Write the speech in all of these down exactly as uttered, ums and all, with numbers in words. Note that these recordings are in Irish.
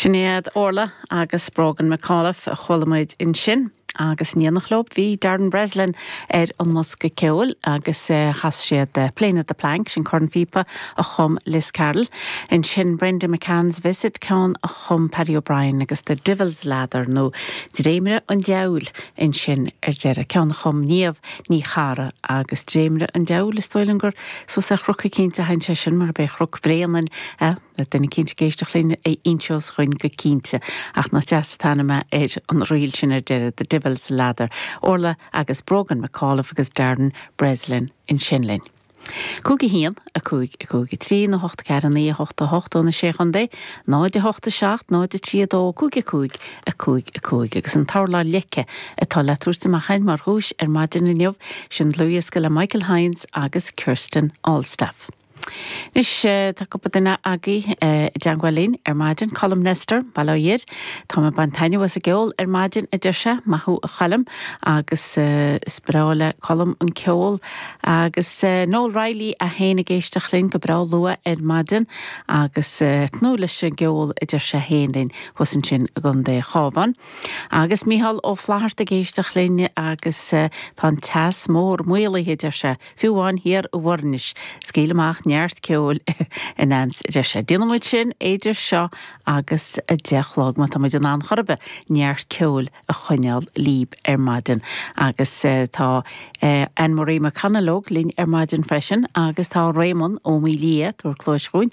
Sin iad Orla agus Brogan McAuliffe a chuala muid ansin. Agus in éineacht leo bhí Darren Breslin ar an mbosca ceoil agus chas siad Playing at the Plank sin cornphíopa a chum Liz Carroll. Ansin Brenda McCann's Visit ceann a chum Paddy O'Brien agus The Devil's Ladder nó Dréimire an Diabhail ansin ar deireadh ceann a chum Niamh Ní Charra agus Dréimire an Diabhail is dóigh liom gur suas ar chnoc eicínt a théann sé sin mar bé Chnoc Bréanainn duine eicínt ag éisteacht linn a inseos dúinn go cinnte ach nach deas an t-ainm ar an ríl sin ar deireadh The Devil's Ladder. Orla agus Brogan McAuliffe agus Darren Breslin ansin linn. Cúig a haon a cúig a cúig a trí nó hocht ceathair naoi a hocht a hocht ó na sé chontae, náid a hocht a seacht náid a trí a dó cúig a cúig a cúig a cúig agus an t-urlár leice atá le tabhairt amach mar dhuais ar maidin inniu sin dlúthdhiosca le Michael Hines agus Kirsten Allstaff. Anois tá cúpla duine agaibh i dteagmháil linn ar maidin Colm Nestor Baloiad Tá mé ag baint taitneamh as an gceol ar maidin a deir sé maith thú a Choilm agus is breá le Colm an ceol agus Noel Riley é féin ag éisteacht linn go breá luath ar maidin agus tnúth leis an gceol a deir sé féin linn thuas ansin i gContae an Chabháin. Agus Micheál Ó Flatharta ag éisteacht linn agus tá an teas mór maolaithe deir sé fiú amháin thiar i bhFoirnis scaoil amach neart ceoil in ans deir sé. Déanfaidh muid sin idir seo agus a deich a chlog má tá muid in ann chor ar bith neart ceoil a choinneáil libh ar maidin agus tá Anne-Marie McConnellóg linn ar maidin freisin agus tá Raymond Ó Mília ag tabhairt cluas dúinn.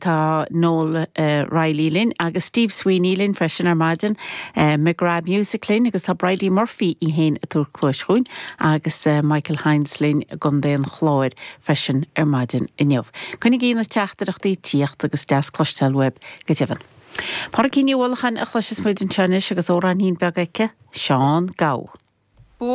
Tá Noel Riley linn agus Steve Sweeney linn freisin ar maidin, McGrath Music linn agus tá Bridie Murphy í féin ag tabhairt cluas dúinn agus Michael Hines linn i gContae an Chláir freisin ar maidin inniu. Coinnígí na teachtaireachtaí ag tíocht agus deas cloisteáil uaibh go deimhin. Pádraigín Ní Uallacháin a chloisfidh muid anseo anois agus amhráinín beag aici, Seán Gabh.